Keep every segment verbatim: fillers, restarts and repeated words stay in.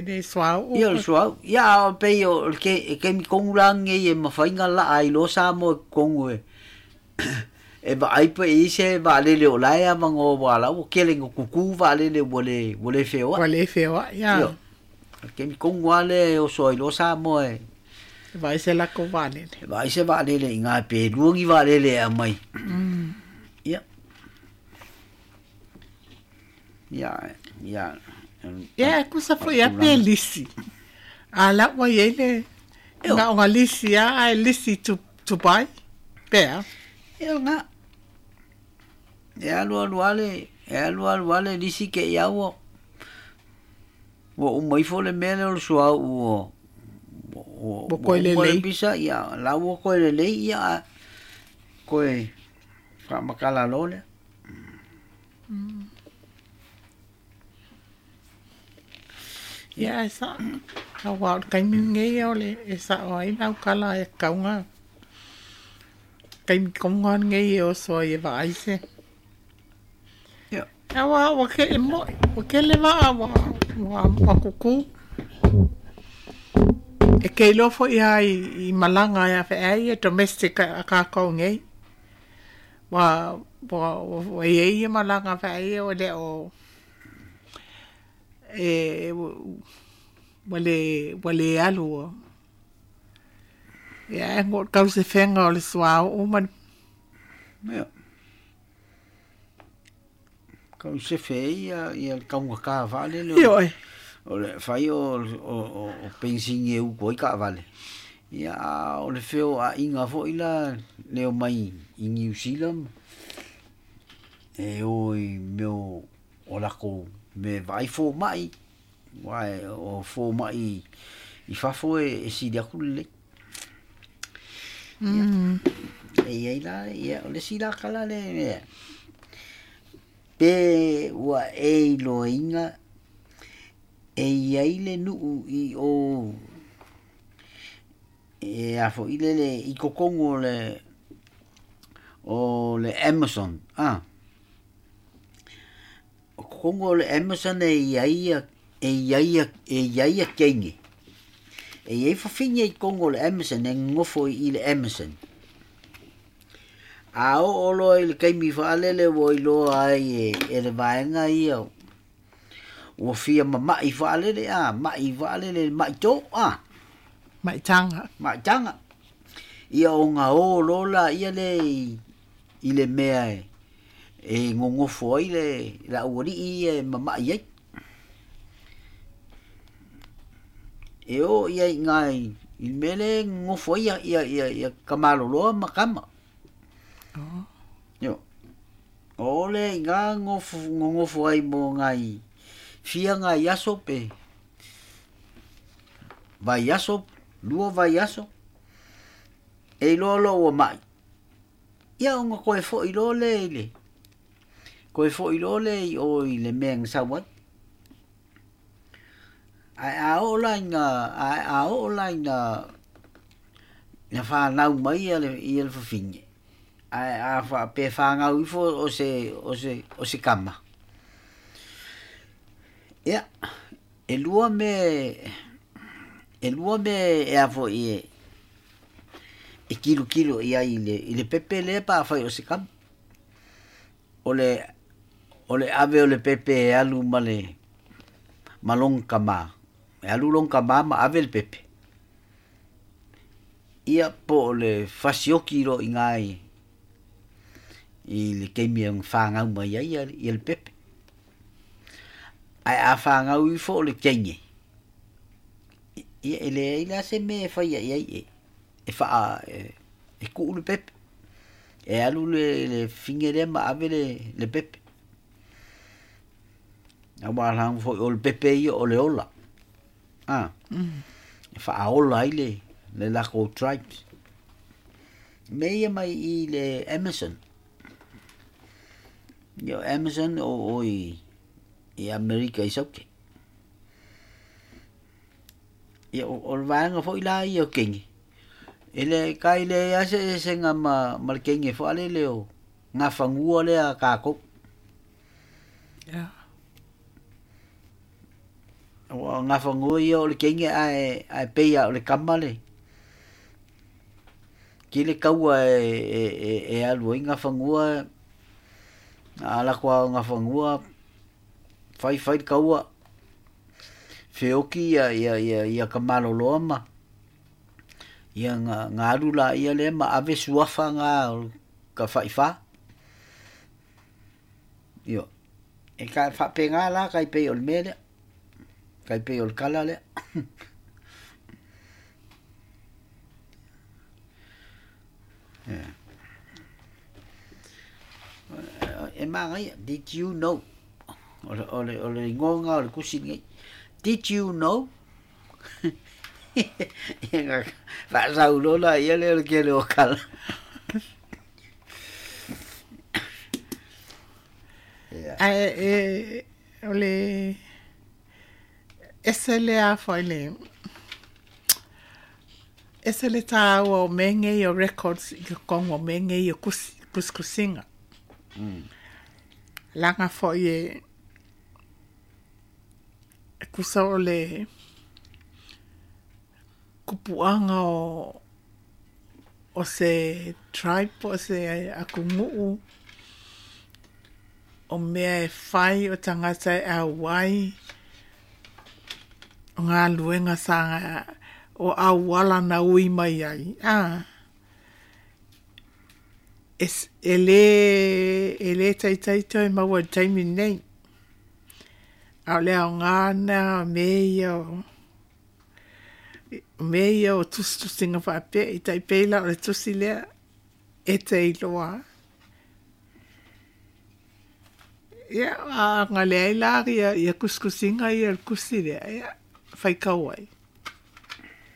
Le suauu. Ia o le suauu. Ia a o pei o le ke e kemi kogu lagei e mafaiga laa ai loa Samoa i totonu e e vaai pe i se vaalele o la e avanoa ua la ua kele ina kukū vaalele ua le ua le feoai. Ua le feoai ia. Ioe. O le kemi kogu lava lea e oso ai loa Samoa e E vaai se latou vaalele. E vaai se vaalele i ina pe lua ni vaalele e aumai. Ia. Ia, ia. Ia, e tusa foi lava pe lisi. A la ua i ai le na o ga lisi lava ae lisi to to buy pe a? Ia lena. E alu alu lava le, e alu alu lava le lisi te i lava ua ua uma ifo le mea lea o le suauu ua ua Ua toe uma le lelei. pisa, ia la ua toe lelei, ia ae toe faamatala loa lea. Ia ae sa'o, auā o le taimi lenei o le e sa'o ai le aukala e tatau ona taimi tonu lava lenei e oso ai e vaai se. Ia. Auā ua ke e mo'i, ua tele va'a ua ua ua kukū. E te iloa fo'i lava i i malaga e afe'e ai domestic a tatou nei. Ua ua ua i ai ia malaga fe'ai ia ua le o e ua le ua le alu ia ae mo tausefega o le suauu ma le. Ia. Tausefe ai ia ia le taugata faalele o Ioe. o le fai o o o penisini e utu ai taavale. Ia a o le feoaiga foi la le omai i Niu Sila e o i mea o o latou mea e vaai fomai, aua o fomai i fafo e sili atu le lelei. Ia, e i ai la, ia o le isi la tala lea, pe ua e iloaina e i ai le nuu i o e a foi lele i totonu o le o le Amazon a. O totonu o le Amazon e i ai ia e i ai ia e i ai ia teine. E i ai fafine i totonu o le Amazon e nonofo i le Amazon. A oo loa i le taimi faalele ua iloa ai e, e le vaega ia ua fia mama'i faalele a, ma'i faalele ma'i tō a. Ma'itaga. Ma'itaga. Ia ona o loa laia lea i, i le mea e, e nonofo ai le, le aualii ia e mama'i ai. E o ia i ina i, i le mea lea e nonofo ai ia, ia, ia, ia kamaloloa ma kama. Oh. Ioe. O lea i ina nonofo, nonofo ai mo nai fia nai aso pe vaiaso, lua vaiaso, e iloa loa ua ma'i. Ia ona toe fo'i loa lea i le toe fo'i loa lea i o i le mea na sau ai. Ae a oo la ina ae a oo la ina ina fanau mai ia le ia le fafine, ae a faapea e fanau ifo o se o se o se tama, ia e lua mea e lua mea e a foi e e tilotilo i ai i le i le pepe lea pe afai o se tama. O le o le ave o le pepe e alu ma le ma lona tamā, e alu lona tamā ma ave le pepe. Ia po o le fasioti loa i ina i i le taimi e fanau mai ai ia le pepe. Ae a fanau ifo o le teine, ia e leai la se mea e faia i ai e e faa e, e tuu le pepe. E alu le le fafine lea ma ave le le pepe. Auā leaga foi o le pepe ia o le ola. A. E faaola ai le le latou tribes. Mea ia mai i le Amazon. Ia o Amazon o o i i Amerika i Saute. Ia o, o le vaega foi la ia o teine. E le kai leai lava se eseesega ma ma le teine faalele o gafanua lea a tatou. Ia. Ua gafagoa ia o le kege ae ae peia o le kama le kile kaua e e e, e alu ai gafagoa ala koa gafagoa fai fai le kaua feoki ia ia ia ia kamaloloa ma ia nga nga alu la ia le ma ave suafa nga ka faifa io e ka faapega la kai pei o le mea lea kai pei o le kala lea. E magaia, did you know? O le o le o le igoga o le kusi nei. Did you know? Ia nga faasaulola ia le o le kele o kala. Ia. Ae e o le ese le a foi le ese le tāua o mea nei o records i ka kongo mea nei o kusi kusikusiga. Mm. Laga foi e e kusa o le kupuaga o o se tribe po o se atunuu o mea e fai o tagata e auai o galuega sa o auala na ui mai ai a e e lē e lē taitai toe maua i le taimi lenei a o le aogā lena o mea ia o mea ia o tusitusiga faapea i taipei la o le tusi lea e te iloa. Ia a agaleai la ia ia kusikusiga ia le kusi lea ia faikau ai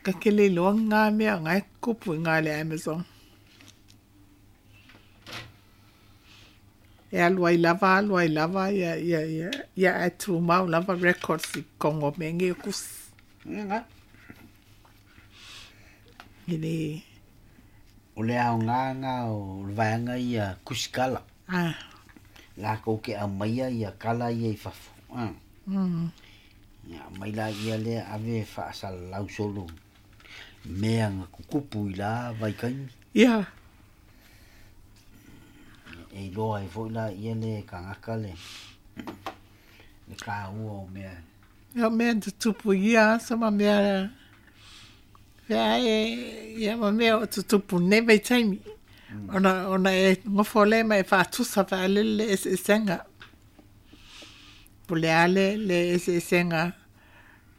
ka kele iloa gā mea gae kupu i gā le Amazon. E alu ai lava alu ai lava ia ia ia ia ae tumau lava records i kogo o mea nei o kusi. Ia nga. I le O le aoga ga o le vaega ia kusikala. Ah. Lakou ke aumaia ia kala ia i fafo. Ah. Mm. Ia aumai laia lea ave faasalalau solo mea ga kukupu i la vaikaimi. Ia. E iloa ai foi laia le tagata le le kāua o mea. Ia o mea na tutupu i ia aso ma mea feae ia ma mea o tutupu nei vaitaimi. Ona ona e gofo le ma e faatusa faalele le eseesega. Po o le a le le eseesega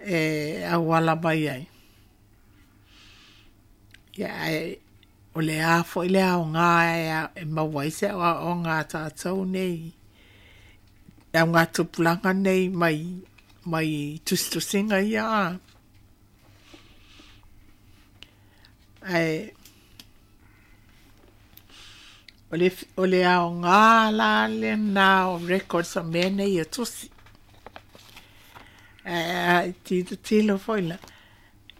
e auala mai ai. Ia ae o le a foi le aogā e e maua ai se aoaoga a tatou nei le augatupulaga nei mai mai tusitusiga ia a. Ae o le o le aogā la lena o records o mea nei o tusi. Ae tilotilo foi la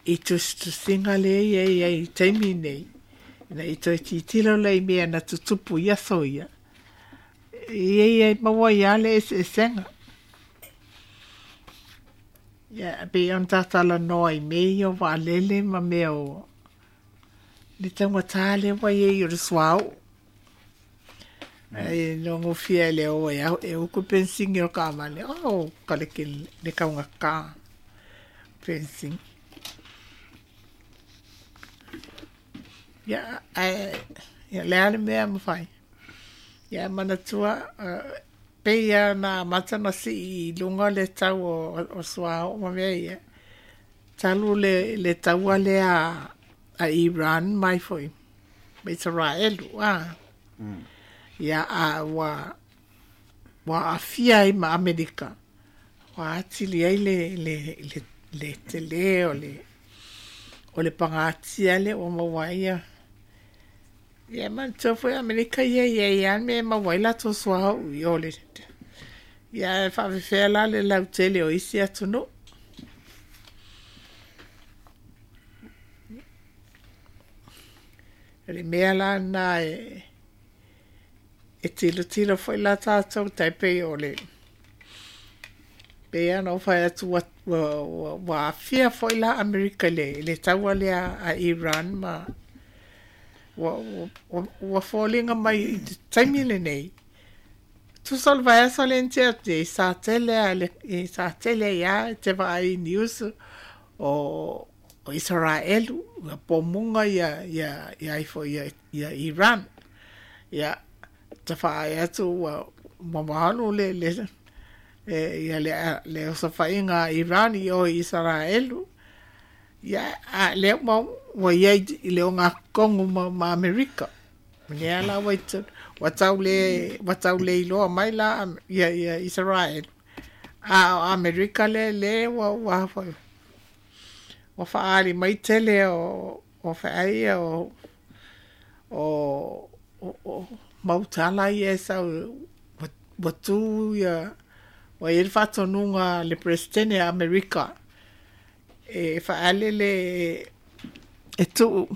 i tusitusiga lea ia ia i taimi nei. Ina i toe tilotilo lea i mea na tutupu i aso ia. Ia ia maua ai lava le eseesega. Ia pei ona tatalanoa i mea ia o vaalele ma mea o le taugatā lea ua iai o le suauu. Ae logofia e le o e au e uku penisini o kaavale. Oh, ka le ke le kaugatā penisini. Ia ae ia le a le mea e mafai. Ia manatua pei lava ona amata ona sii i luga le tau o o suauu ma mea ia. Talu le le taua lea a Iran mai foi ma Isaraelu a. Mm. Ia a ua ua aafia ai ma Amerika. Ua atili ai le le le le telē o le o le pagatia lea ua maua ai ia. Ia manatua foi Amerika ia e iai lava le mea e maua ai latou suauu i o le ia ae faafefea la le lautele o isi atunuu. O le mea la lena e e tilotilo foi la tatou tai pei o le Pe ana o fai atu ua, ua, ua, ua aafia fo'i la Amerika i le, i le taua lea a Iran ma ua, ua, ua foliga mai i le taimi lenei. Tusa o le vaiaso lea na tea atu nei, sa tele a le, sa tele ai lava e te vaai i news o, o Isaraelu, ua pomuga ia, ia, ia ifo ia, ia Iran. Ia, tafaai atu ua, ua malu le, le, le, ia le, le osofaiga a Iran i o i Isaraelu. Ia, a lea ua, ua iai i le ogatotogu ma, ma Amerika. Lea la ua i totonu, ua tau le, ua tau le iloa mai la ia, ia Israel. A o Amerika le le ua ua foi. Ua faaali mai tele o o feai ia o o o, o mautala ia e sau ua, ua tu ia ua i ai le faatonuga a le Peresetene a Amerika e faalele e tuu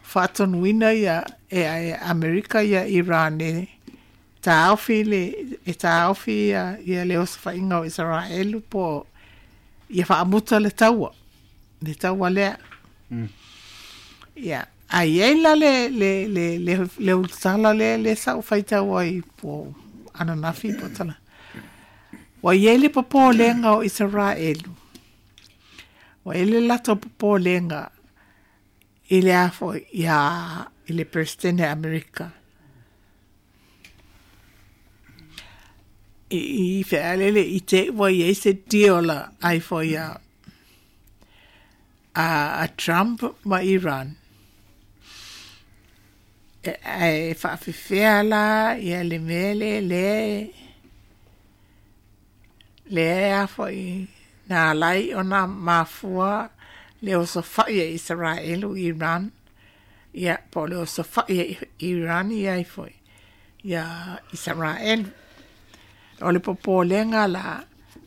faatonuina ia e, e Amerika ia Iran e taofi le e taofi ia, ia le osofaiga o Isaraelu po ia faamuta le taua le taua lea. Mm. Ia, a i ai la le le le le, le ulutala lea le sa ou faitau ai po ananafi po tala. Ua i ai le popolega o Isaraelu. Ua i ai le latou popolega i le a foi ia i le Peresetene a Amerika. I, i fealele i te ua i ai se deal ai foi a, a, a Trump ma Iran. E, e faafefea la ia le mea le le lea a foi na alai ona mafua le osofai e Isaraelu i Iran. Ia, po o le osofai e Iran ia ai foi ia Isaraelu. O le popolega la,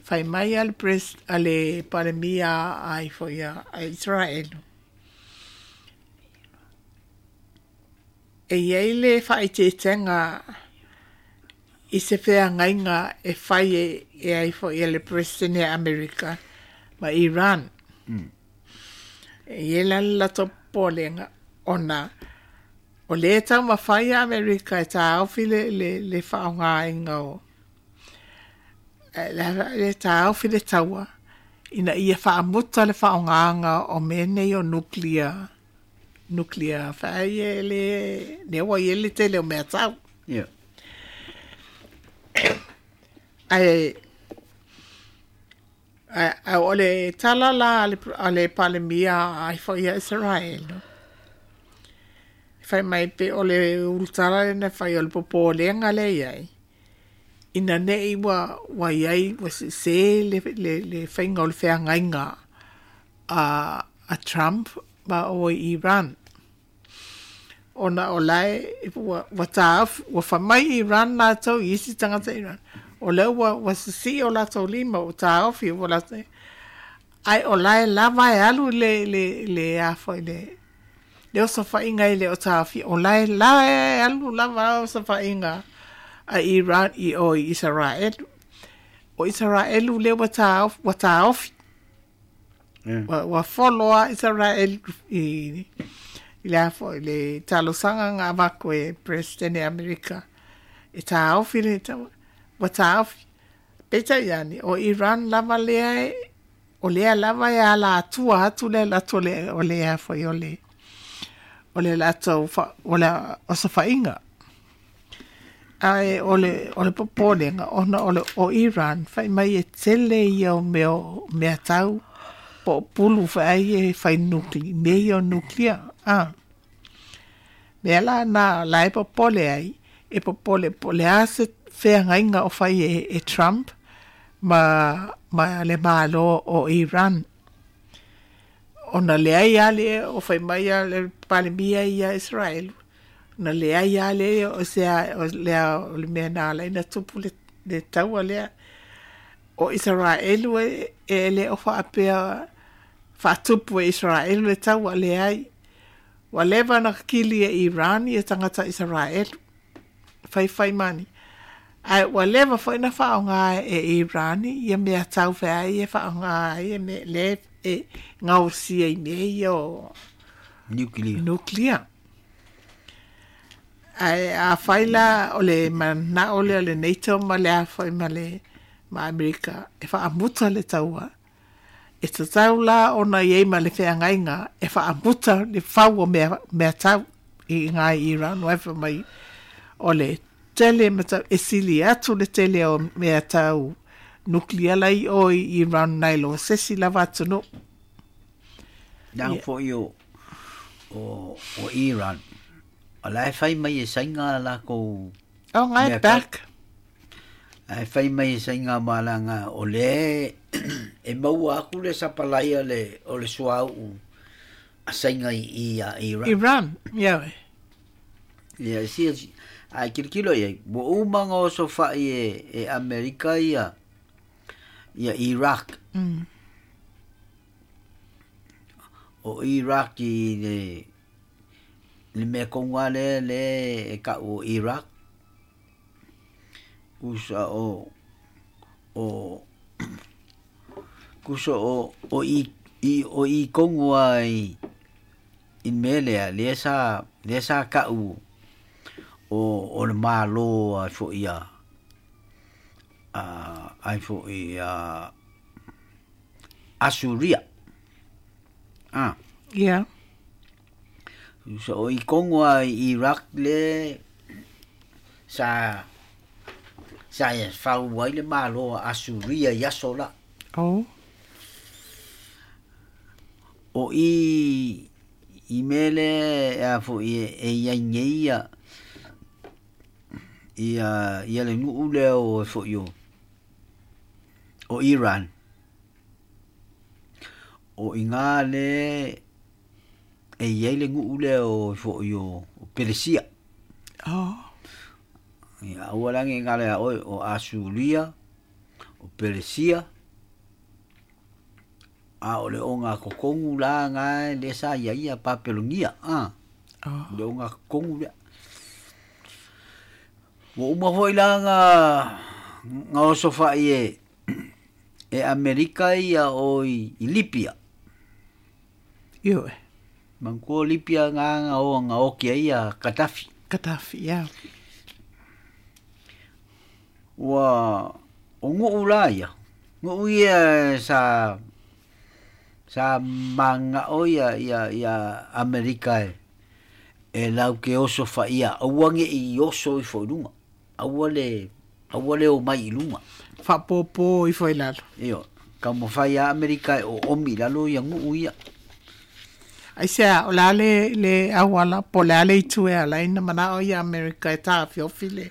fai mai a le pres, a le Palemia ai foi ia a Isaraelu. E iai le faaeteetega i se feagaiga e fai e, e ai foi e le Peresetene a Amerika ma Iran. Mm. E i ai la le latou popolega ona o lea e taumafai a Amerika e taofi le, le, le faaaogaina o le, le taofi le taua ina ia faamuta le faaaogaga o mea nei o nuclear nuclear feai e le lea ua i ai le tele o mea tau. Yeah. Ae ae ae o le tala la a le, a le Palemia ai foi ia Israel. Fai mai pe o le ulutala lena fai o le popolega lea i ai. Ina nei ua, ua iai ua sese le, le, le faiga o le feagaiga a, a Trump ma o i Iran. Ona o lae ua, ua taofi, ua fai mai Iran latou i isi tagata Iran. O lea ua, ua sisii o latou lima ua taofi ua latou. Ai o lae lava e alu le, le, le a foi le, le osofaiga e le o taofi. O lae la e alu lava osofaiga a Iran i o i Israelu. O Israelu lea ua taofi, ua taofi. Yeah. Ua, ua follow a Israel i, i le a foi le talosaga na avatu e President Amerika. E taofi le taua. Ua taofi. Peitai ane, o Iran lava lea e, o lea lava e ala atua atu le latou le, o le a foi o le, o le latou fa, o le osofaiga. Ae o le, o le popolega, ona o le, o Iran, fai mai e tele ia o mea, mea tau, po o pulu feai e fai nukli, mea ia o nuclear. Ah. Mea la na la e popole ai, e popole po le a se feagaiga o fai e, e Trump ma, ma le malo o Iran. Ona leai a le o fai mai a le Palemia ia Israel. Na leai a le o se a, o le a, o le mea na ala ina tupu le, le taua lea. O Israelu e, e le o faapea faatupu e Israelu le taua leai. Ua leva na kili e Iran ia tagata Israelu. Fai fai mani. Ae ua leva foi na faaaogā e Irani ia mea taufeai e faaaogā ai e me le e gaosia i mea ia o Nuclear. Nuclear. Ae afai la o le manao lea o le NATO ma le a foi ma le ma Amerika e faamuta le taua, e tatau la ona i ai ma le feagaiga e faamuta le fau o mea, mea tau i ngā Iran wai fa mai o le tele ma tau e sili atu le tele o mea tau nuclear lai o i Iran nai lo sesi lava atunuu. Nang Ia. foi o o o Iran. O la e fai mai e sainga la ko O ngai mea tau. Back. Ai fai mai e sainga malanga o le e maua aku le sapalaia le o le suau a sainga i i a Iran. Iran, ia we. Ia si ai kilokilo ia mo uma ngo so fa i e, e Amerika ia ia Iraq. Mm. O Iraq i le le mea konga le le e ka o Iraq. Kusa o o kusa o o i i o i kongua i i melea le sa le sa ka u o o le malo ai fo ia a ai fo ia Asuria. Ah, Ia. so o i kongua i Iraq le sa sa e fau ai le malo a Asuria i aso la. O. O i i mele a fo i e ia nei ia ia ia le nuu lea o fo i o o Iran. O i ngā le e ia le nuu lea o fo i o o Peresia. O. Ia aua langi ngā lea oi o Asuria, o Peresia. A o le o ngā kokongu la ngā le sa ia ia Papelonia. Ah, O. le o ngā kokongu lea. Ua uma foi la ngā ngā oso fai e e Amerika ia o i, i Libia. Ioe. Mangkua Libia ngā ngā o ngā oki ai ia Gaddafi. Gaddafi, ia. Ua o nguu la ia. Nguu ia sa sa manga o ia ia ia Amerika e e lau ke oso fa ia aua nge i oso i fo i lunga. Aua le aua le o mai i lunga. Faapopo ifo i lalo. Io, ka mo fai a Amerika e o omi lalo ia nguu ia. Ai sea, o le a le, le auala, po le a le itu e ala ina mana o ia Amerika e tā fiofi le.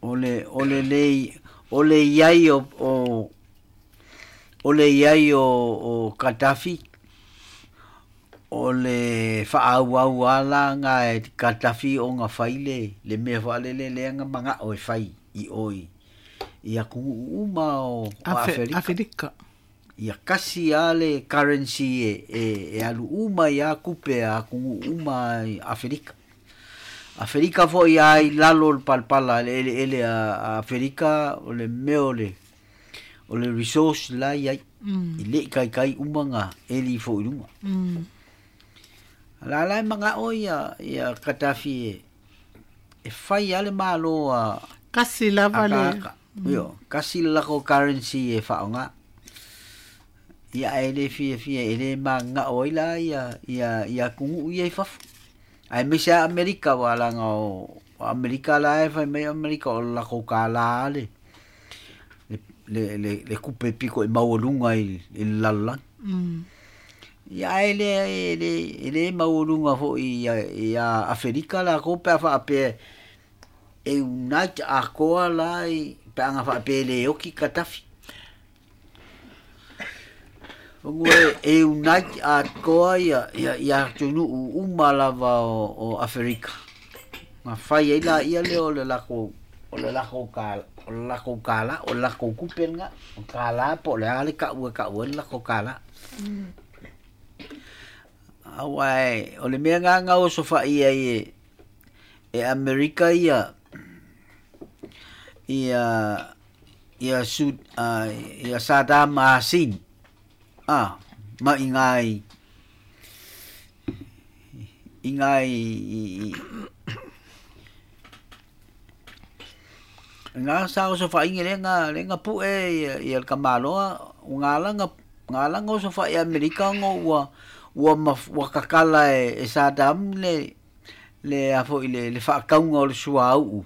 O le o le lei o le iai o o o le iai o o Gaddafi o le whaau ala ngā e Gaddafi o ngā whaile le mea whaalele le nga manga o e whai i oi i a kungu uma o, o Afe, Aferika. Aferika. Ia kasi a le currency e, e, e alu uma i a kupe a kungu uma i Aferika. Aferika foi ai lalo le palpala le ele ele a, a Aferika o le mea o le o le resource la i ai. Mm. I le kai kai uma ngā eli fo i lunga. Mm. La la e manga o ia ia Gaddafi e e whai ale malo a Kasi lava le. aka. Io, kasi lako currency e whaonga. Ia e le fia fia e le manga o ila ia ia ia kungu ia i fafu. Ai me se Amerika wa la nga o o Amerika la e whai mai Amerika o lako ka la le. Le le le, le kupe piko i maualunga i i le lalolagi. Mm. Ia e le e le e le maualunga foi ia ia Aferika la ko pe fa pe e unite a koa la i pe anga fa pe le oki Gaddafi. Ongo e, e unite a koa ia ia ia tunu uma lava o, o Aferika. Ma fai ai la ia le o le lako o le lako ka o le lako kala o le lako kupe nga o kala po le ale ka ua ka ua le lako kala. Aua e, o le mea ngā ngā o sofa ia e, e Amerika ia, ia ia su uh, ia Saddam Hussein ah ma ingai ingai nga sa o so fa inge lenga lenga pu e ia ia kamaloa ngalanga ngalanga o so fa ia Amerika ngo ua ua ua kakala e, e Saddam le le afo ile le fa kaunga o le suau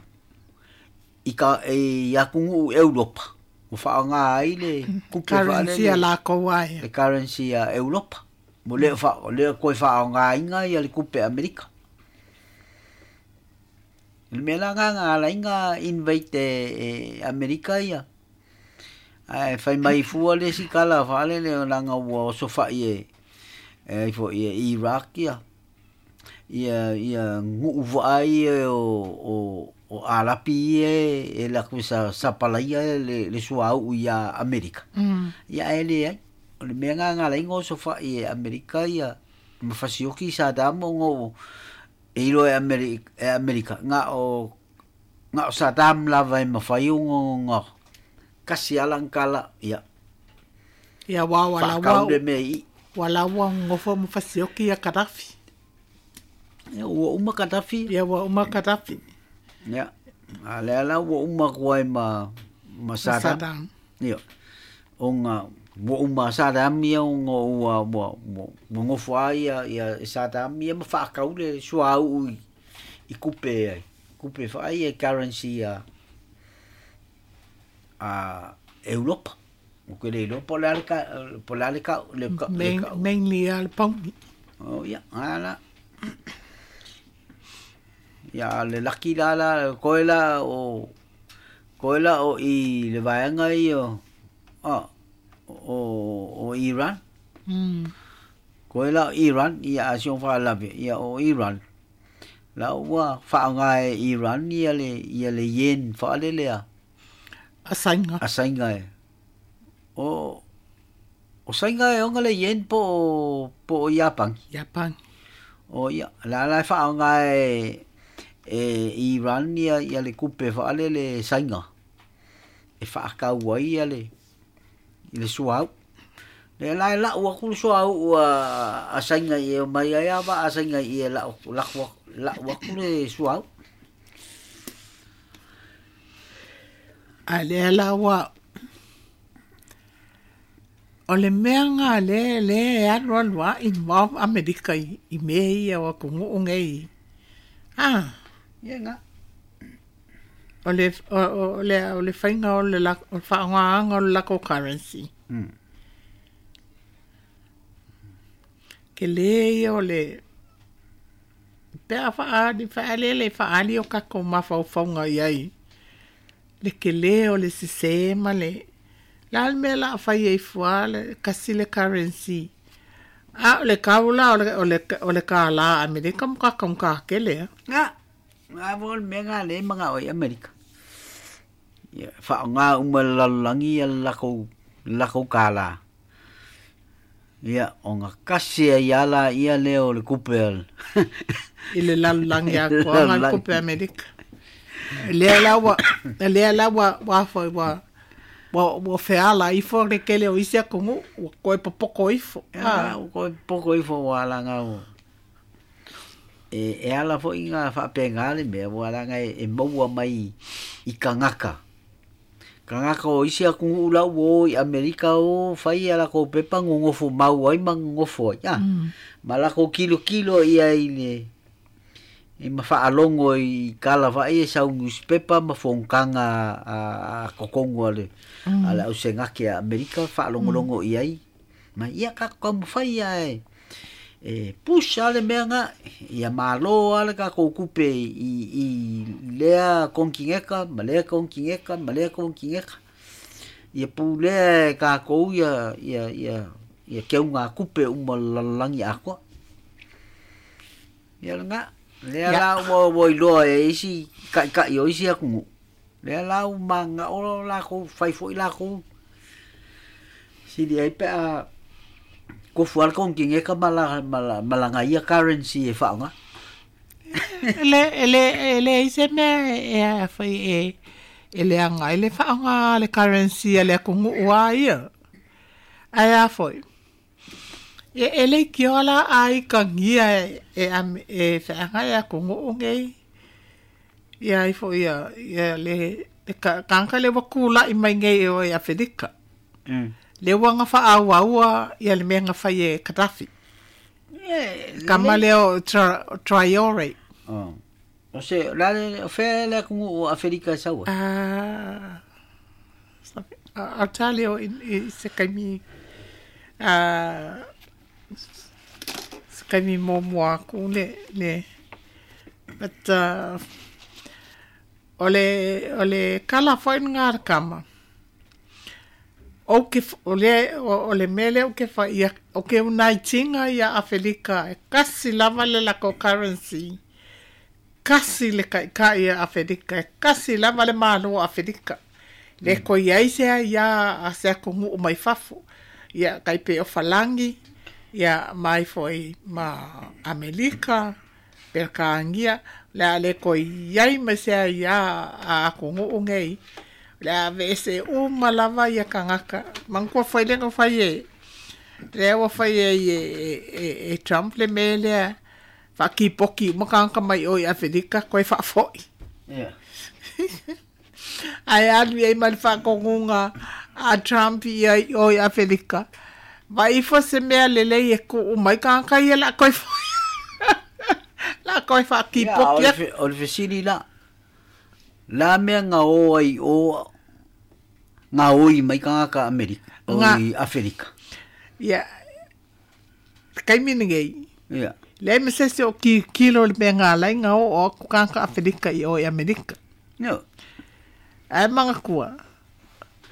i ka e ia kungu Europa o fa nga ai le kupe currency la ko ai le currency a Europa mo le fa le ko fa nga inga ia le kupe Amerika le mela nga nga la inga invite e Amerika ia ai fai mai fua le sikala fa le le langa ua so fa ie e fo ie Iraq ia ia ia ngu vai o o o alapi e e la kusa sapalaia le le suau ia Amerika. Mm. Ia ele ai o le mea nga la ingo so fa ia Amerika ia mafasioki Saddam ngo e ilo e Amerika e Amerika nga o nga o Saddam la vai mafai ngo ngo kasi alangkala ia ia wa wa la wa wala wa ngo fo mafasioki ya Gaddafi ia ua uma Gaddafi ia ua uma Gaddafi ia ale ala ua uma kuai ma ma Saddam ia onga ua uma Saddam ia ngo ua ua ngo fo ia ia Saddam ia ma fa kaule suau i kupe ai kupe fa ai currency a a Europa o que le Europa la ka la ka le mainly al pound oh ia ala ia le laki la la koela o koela o i le vaenga i o o o Iran mm koela Iran ia asion fa la ia o Iran la ua fa nga Iran ia le ia le yen fa le le asainga asainga e o o sainga e onga le yen po po Japan Japan o ia la la fa nga e e Iran ia ia le kupe fa le le sainga e fa ka ua ia le le suau le la la ua ku suau ua a sainga ia mai ia ba a sainga ia la la la ua ku le suau a le la ua o le mea ngā le le alu alu a involve Amerika i, i mea ia o ku ngu ah ia nga o le o, o le o le fainga o le la o whaangaanga o le lako currency mm. Ke le ia o le pea whaali whaalele whaali o kako mawhaufaunga iai le ke le o le sisema le la le mea la whai e fua le kasi le currency a o le kaula o le o le o le ka la Amerika mo ka ka kele nga nga vol me nga le manga o Amerika ia fa nga uma lalangi ia la ko la ko kala ia o nga kasi ia la ia le o le kupel i le lalangi a ko nga kupe Amerika le la wa le la wa wa fa wa wa wa feala ifo le kele o isia kongu wa koe popoko ifo ah koe popoko ifo wa la nga o e e ala fo inga fa penga le me wa la nga e maua mai i kangaka kangaka o isia kongu la wo i Amerika o fai ala ko pepa ngongofo mau ai mangofo ya mala ko kilo kilo ia i le e mawhaalongo i kala whae e sau newspaper mawhongkanga a, a kokongo ale mm. ala au sengake a Amerika whaalongolongo mm. i ai ma ia ka ka mwhai ia e e push ale mea nga ia malo ale ka koukupe i, i lea kongkingeka ma lea kongkingeka ma lea kongkingeka ia pūlea e kākou ia ia ia ia keunga kupe uma lalangi akoa ia nga lea la ua ua iloa e isi kaʻikaʻi o isi atunuu lea la ua magaʻo lakou fai foʻi lakou sili ai pe a kofu ale kongkingeka ma la ma laga ia currency e faaaoga le le le ise mea e a fai e E leaga ai le faaaoga le currency a le atunuu a ia. Ae a foi. E e le kioa la ai kangia e e e feaga e atunuu nei. Ia ai foi ia ia le le kanka le wakula i mai nei o e Afelika. Mm. Le ua fa'aauaua ia le mea na fai e Katafi. Kama lea o Traore. Oh. O se la le o fe le ku o Afelika saua. Ah. A tale o i se kaimi a se kaimi mo mo aku le le but uh, o le o le kala foi ngā kama. O ke o le o le mele o ke fa ia o ke unaitinga ia Afelika e kasi lava le lako currency kasi le kai kai ia Afelika e kasi lava le malo Afelika le ko ia se ia a se ko mu mai fafo ia kai pe o falangi ia mai foi ma Amerika per kaangia le le ko ia me se ia a ko ngu ngei la vese o malava ia kangaka mangko foi le foi e le o foi e e e Trump le mele fa ki poki makanga mai o Afrika ko fa foi yeah ai alu e mal fa kongunga a Trump ia o Afrika vai fo se mea le le e ku mai kanga ia la ko foi la ko fa ki poki o le fesili la la mea ngā o ai o ngā oi mai kangaka Amerika o i Afelika. Ia, kai mini ngei. Ia. Le me se o ki kilo le mea ngā lai ngā o o kangaka Afelika i o i Amerika. No. Ai manga kua.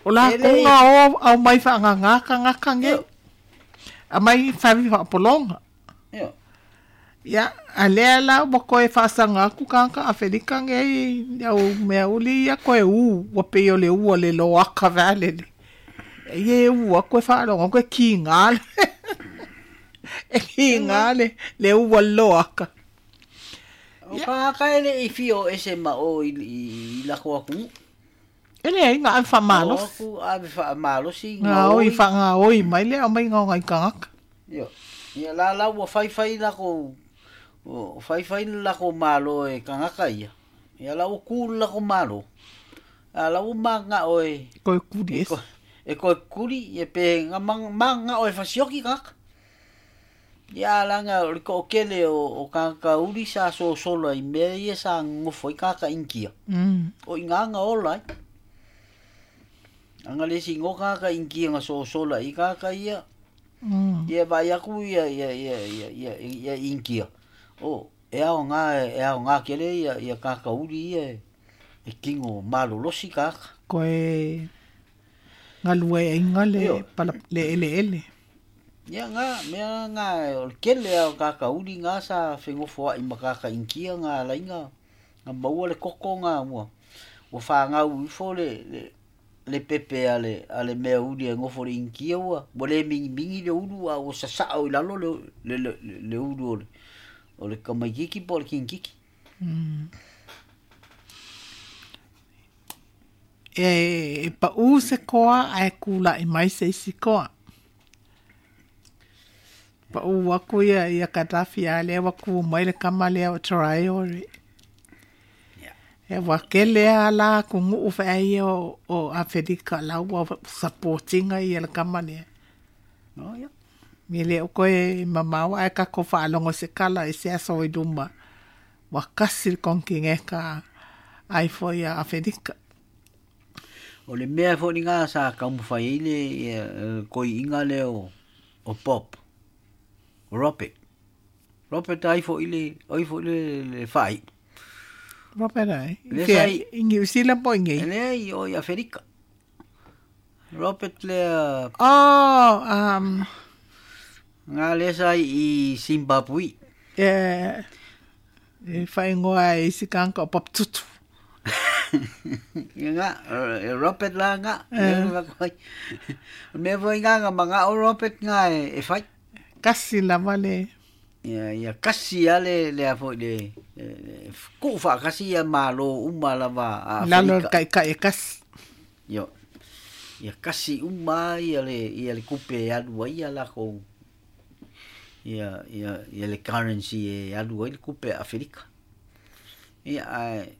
O la ko ngā o au mai wha ngā ngā kangaka ngei. A mai whawi wha polonga. Ia. Ia, a lea la ua koe faasanga aku kanga Afelika ngei au mea uli ia koe u, ua pei o le ua le loaka vale le. E ua koe faalogo koe kiga le. E kiga le, le ua loaka. O kangaka e le i fio ese ma o i, i lako aku. E le ai ngā whamalosi. O aku ave whamalosi. Ngā oi wha oi mai le au mai ngā ngai kangaka. Ia, ia la la ua whai whai lako. O whai whai lako malo e kangaka ia. Ia la ua kū lako malo. A la ua manga oe. Koe kuri es. E koe kuri e pe ngā manga oe whasioki kangaka. Ia langa o le ko'okele o, o kangaka uri sa sosola i mea ia sa ngofo i kangaka inkia. Mm. O i ngā ola ai. Anga le si ngō kangaka inkia ngā sosola i kangaka ia. Mm. Ia vai aku ia ia ia ia ia ia inkia. O e ao ngā e ao ngā kele ia ia kaka uri ia e kingo malolosi kaka. Koe ngalue e inga le pala le ele ele. Ia ngā mea ngā o le kele ao kaka uri ngā sa whengofoa i makaka inkia ngā lainga ngā maua le koko ngā mua. Ua whāngau ifo le le le pepe a le a le mea uri e ngofo le inkia ua ua le mingi mingi le uru a ua sasao i lalo le le le, le uru o le o le kamaikiki po le kinkiki. Mm. E, e pa u se koa a e kula i mai se isi koa. Pa u waku ia ia Katafi a lea waku mai le kama lea o Traore. E wakele ala ku ngu fa ai o o Afelika la ua supportinga ia le kama lea. No ia. Mi le o koe mamawa e ka ko whaalongo se kala e se aso i duma. Wa kasi konki ngeka ai fo ia Afelika. O le mea fo ni ngā sa kaumawhai i le koi inga le o, o Pop. Robert. Robert ai fo i le, ai fo i le, le whai. Robert ai. Le Fea, sai- i New Zealand po i ngei. Le ai o i Afelika. Robert le Oh, um, ngā le sai i Zimbabwe. e, e whaingoa e isi kanka o Pop Tutu. Ia ngā, e Robert la ngā. Mea foi ngā ngā manga o Robert ngā e, e whai. Kasi lava le. Ia ia kasi a le le a foi le ku fa kasi ia malo uma lava a Lalo kai kai kasi. Yo. Ia kasi uma ia le ia le kupe alu ai ia la ko ia ia ia le currency e alu ai le kupe Afrika. Ia ai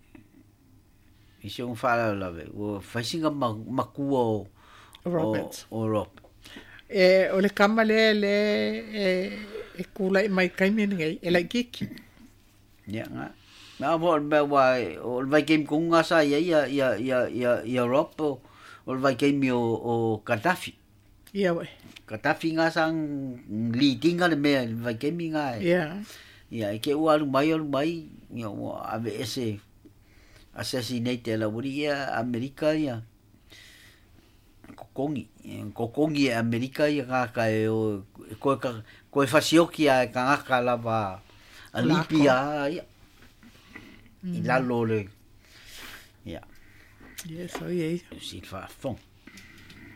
i se un fala la ve o faisinga makua o Robert. O, o Rob. E o le kama le le e e kula i mai kaimi nei e lai kiki. Ia nga. Na mo me wa o le vai game kunga sa ia ia ia ia ia ia Rob o o le vai game o o Gaddafi. Ia we. Gaddafi nga sang leading le me le vai game nga. Ia. Ia e ke ua alu mai alu mai ia o ave ese assassinate la wuri ia Amerika ia. Kokongi kokongi e Amerika ia ka ka e o ko ka ko e fasioki a ka ka lava a Libya ia i lalo le ia yes o ia si fa fond.